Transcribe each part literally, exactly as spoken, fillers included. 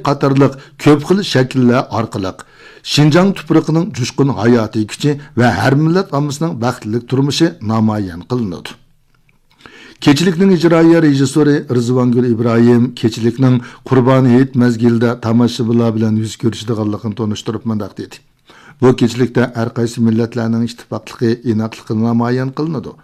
قاتارلىق كۆپ خىل شەكىللەر ئارقىلىق شىنجاڭ تۇپرىقىنىڭ جۇشقۇن ھاياتىي كۈچى ۋە ھەر مىللەت ئاممىسىنىڭ بەختلىك تۇرمۇشى نامايان قىلىنىدۇ. كېچىلىكنىڭ ئىجرائىيە رېژىسسورى رىزۋانگۈل ئىبراھىم كېچىلىكنىڭ قۇربان ھېيت مەزگىلىدە تاماشىبىنلار بىلەن يۈز كۆرۈشىدىغانلىقىنى تونۇشتۇرۇپ مۇنداق دېدى: بۇ كېچىلىكتە ھەر قايسى مىللەتلەرنىڭ ئىتتىپاقلىقى، ئىناقلىقى نامايان قىلىنىدۇ.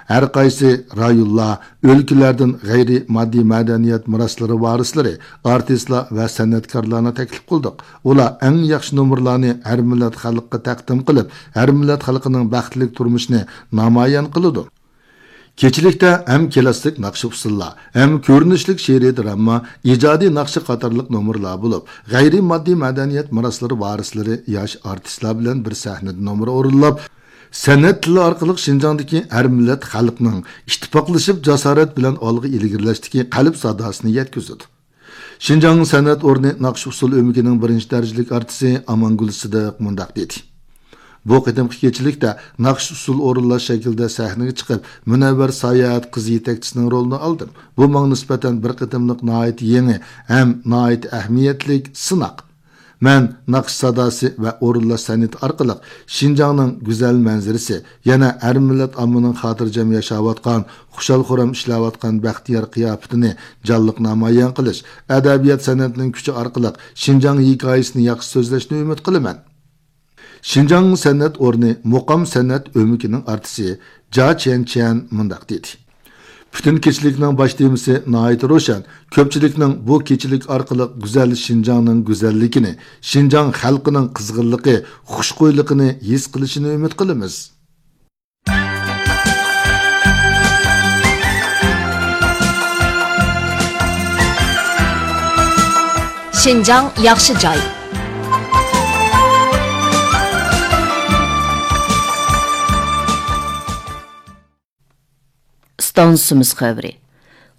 ھەر قايسى رايونلار، ئۆلكىلەردىن غەيرىي ماددىي مەدەنىيەت مىراسلىرى ۋارىسلىرى، ئارتىسلار ۋە سەنئەتكارلارنى تەكلىپ قىلدۇق. ئۇلار ئەڭ ياخشى نومۇرلارنى ھەر مىللەت خەلققە تەقدىم قىلىپ، ھەر مىللەت خەلقىنىڭ بەختلىك تۇرمۇشىنى نامايان قىلىدۇ. كېچىلىكتە ھەم كىلاسسىك ناخشا ئۇسسۇللار، ھەم كۆرۈنۈشلۈك شېئىرىي دراما، ئىجادىي ناخشا قاتارلىق نومۇرلار بولۇپ، غەيرىي ماددىي مەدەنىيەت مىراسلىرى ۋارىسلىرى ياش ئارتىسلار بىلەن بىر سەھنىدە نومۇر ئورۇنلاپ، سەنئەت تىلى ئارقىلىق شىنجاڭدىكى ھەر مىللەت خەلقنىڭ ئىتتىپاقلىشىپ، جاسارەت بىلەن ئالغا ئىلگىرىلەشتىكى قەلب ساداسىنى يەتكۈزىدۇ. شىنجاڭ سەنئەت ئورنى ناخشا ئۇسسۇل ئۆمىكىنىڭ بىرىنچى دەرىجىلىك ئارتىسى ئامانگۈل سىدىق مۇنداق دېدى: بۇ قېتىمقى كېچىلىكتە ناخشا ئۇسسۇل ئورۇنلاش شەكلىدە سەھنىگە چىقىپ، مۇنەۋۋەر ساياھەت قىز يېتەكچىسىنىڭ رولىنى ئالدىم. بۇ ماڭا نىسبەتەن بىر قېتىملىق ناھايىتى يېڭى ھەم ناھايىتى ئەھمىيەتلىك سىناق. مەن ناخشا ساداسى ۋە ئورۇنلاش سەنئىتى ئارقىلىق شىنجاڭنىڭ گۈزەل مەنزىرىسى، يەنە ھەر مىللەت ئاممىنىڭ خاتىرجەم ياشاۋاتقان، خۇشال-خۇرام ئىشلەۋاتقان بەختىيار قىياپىتىنى جانلىق نامايان قىلىش، ئەدەبىيات سەنئەتنىڭ كۈچى ئارقىلىق شىنجاڭ ھېكايىسىنى ياخشى سۆزلەشنى ئۈمىد قىلىمەن. شىنجاڭ سەنئەت ئورنى مۇقام سەنئەت ئۆمىكىنىڭ ئارتىسى جا چيەنچيەن مۇنداق دېدى: پۈتۈن كېچىلىكنىڭ باش تېمىسى ناھايىتى روشەن. كۆپچىلىكنىڭ بۇ كېچىلىك ئارقىلىق گۈزەل شىنجاڭنىڭ گۈزەللىكىنى، شىنجاڭ خەلقىنىڭ قىزغىنلىقى، خۇشخۇيلۇقىنى ھېس قىلىشىنى ئۈمىد قىلىمىز. شىنجاڭ ياخشى جاي. ئىستانسىمىز خەۋىرى.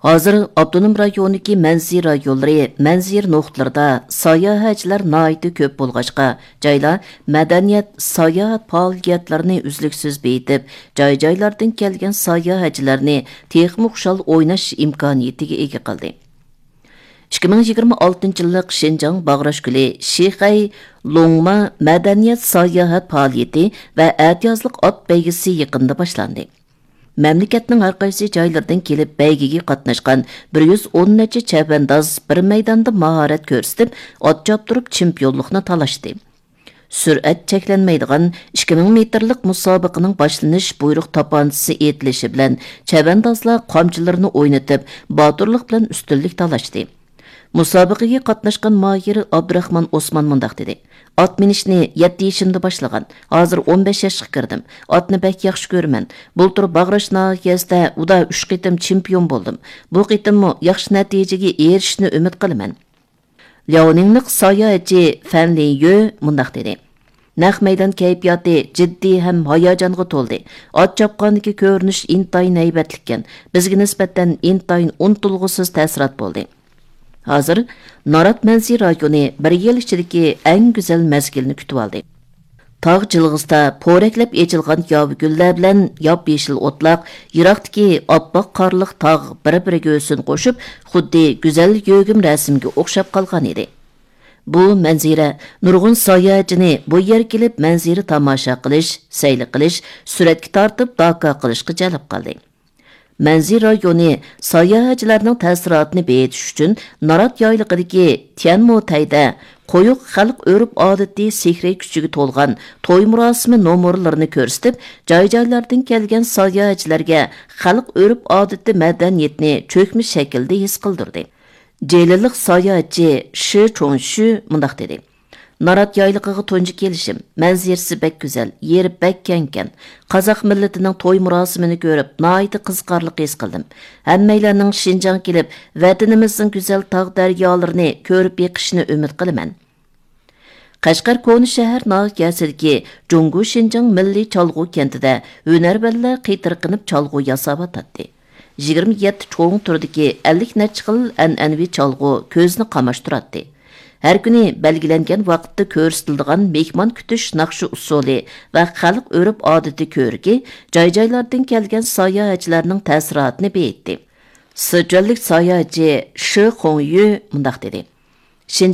ھازىر ئاپتونوم رايوندىكى مەنزىرە رايونلىرى، مەنزىرە نۇقتىلىرىدا ساياھەتچىلەر ناھايىتى كۆپ بولغاچقا، جايلار مەدەنىيەت، ساياھەت پائالىيەتلىرىنى ئۈزلۈكسىز بېيىتىپ، جاي-جايلاردىن كەلگەن ساياھەتچىلەرنى تېخىمۇ خۇشال ئويناش ئىمكانىيىتىگە ئىگە قىلدى. ئىككى مىڭ يىگىرمە ئالتىنچى يىللىق شىنجاڭ باغراش گۈلى شىخەي لوڭما مەدەنىيەت ساياھەت پائالىيىتى ۋە ئەتىيازلىق ئات بەيگىسى يېقىندا باشلاندى. مەملىكەتنىڭ ھەر قايسى جايلىرىدىن كېلىپ بەيگىگە قاتناشقان بىر يۈز ئون نەچچە چەۋەنداز بىر مەيداندا ماھارەت كۆرسىتىپ، ئات چاپتۇرۇپ چېمپىيونلۇقنى تالاشتى. سۈرئەت چەكلەنمەيدىغان ئىككى مىڭ مېتىرلىق مۇسابىقىنىڭ باشلىنىش بۇيرۇق تاپانچىسى ئېيتىلىشى بىلەن چەۋەندازلار قامچىلىرىنى ئوينىتىپ، باتۇرلۇق بىلەن ئۈستۈنلۈك تالاشتى. مۇسابىقىگە قاتناشقان ماھىر ئابدۇراخمان ئوسمان مۇنداق دېدى: ئات مىنىشنى يەتتە يېشىمدا باشلىغان، ھازىر ئون بەش ياشقا كىردىم. ئاتنى بەك ياخشى كۆرىمەن. بۇلتۇر باغراش ناھىيەسىدە ئۇدا ئۈچ قېتىم چېمپىيون بولدۇم. بۇ قېتىممۇ ياخشى نەتىجىگە ئېرىشىشنى ئۈمىد قىلىمەن. لياۋنىڭلىق ساياھەتچى فەن لىن يۆ مۇنداق دېدى: نەق مەيدان كەيپىياتى جىددىي ھەم ھاياجانغا تولدى. ئات چاپقاندىكى كۆرۈنۈش ئىنتايىن ھەيۋەتلىككەن. بىزگە نىسبەتەن ئىنتايىن ئۇنتۇلغۇسىز تەسىرات بولدى. ھازىر نارات مەنزىرە رايونى بىر يىل ئىچىدىكى ئەڭ گۈزەل مەزگىلنى كۈتۈۋالدى. تاغ جىلغىسىدا پورەكلەپ ئېچىلغان ياۋا گۈللەر بىلەن ياپيېشىل ئوتلاق، يىراقتىكى ئاپئاق قارلىق تاغ بىر-بىرىگە ھۆسن قوشۇپ، خۇددى گۈزەل يۆگىمە رەسىمگە ئوخشاپ قالغان ئىدى. بۇ مەنزىرە نۇرغۇن ساياھەتچىنى بۇ يەرگە كېلىپ مەنزىرە تاماشا قىلىش، سەيلە قىلىش، سۈرەتكە تارتىپ داكا قىلىشقا جەلپ قىلدى. مەنزىرە رايونى ساياھەتچىلەرنىڭ تەسىراتىنى بېيىتىش ئۈچۈن نارات يايلىقىدىكى تيەنمۇتەيدە قويۇق خەلق ئۆرپ-ئادىتى سېھرىي كۈچىگە تولغان توي مۇراسىمى نومۇرلىرىنى كۆرسىتىپ، جاي-جايلاردىن كەلگەن ساياھەتچىلەرگە خەلق ئۆرپ-ئادىتى مەدەنىيىتىنى چۆكمە شەكىلدە ھېس قىلدۇردى. جېلىلىق ساياھەتچى شى چوڭشۈ مۇنداق دېدى: نارات يايلىقىغا تۇنجى كېلىشىم. مەنزىرىسى بەك گۈزەل، يېرى بەك كەڭكەن. قازاق مىللىتىنىڭ توي مۇراسىمىنى كۆرۈپ، ناھايىتى قىزىقارلىق ھېس قىلدىم. ھەممەيلەننىڭ شىنجاڭغا كېلىپ، ۋەتىنىمىزنىڭ گۈزەل تاغ دەريالىرىنى كۆرۈپ بېقىشىنى ئۈمىد قىلىمەن. قەشقەر كونا شەھەر ناھىيەسىدىكى جۇڭگو شىنجاڭ مىللىي چالغۇ كەنتىدە ھۈنەرۋەنلەر قېتىرقىنىپ چالغۇ ياساۋاتاتتى. يىگىرمە يەتتە چوڭ تۈردىكى ئەللىك نەچچە خىل ئەنئەنىۋى چالغۇ كۆزنى قاماشتۇراتتى. ھەر كۈنى بەلگىلەنگەن ۋاقىتتا كۆرسىتىلىدىغان مېھمان كۈتۈش ناخشا ئۇسسۇلى ۋە خەلق ئۆرپ-ئادىتى كۆركى جاي-جايلاردىن كەلگەن ساياھەتچىلەرنىڭ تەسىراتىنى بېيىتتى. سىچۈەنلىك ساياھەتچى شى خۇڭيۈ مۇنداق دېدى: شىنجاڭ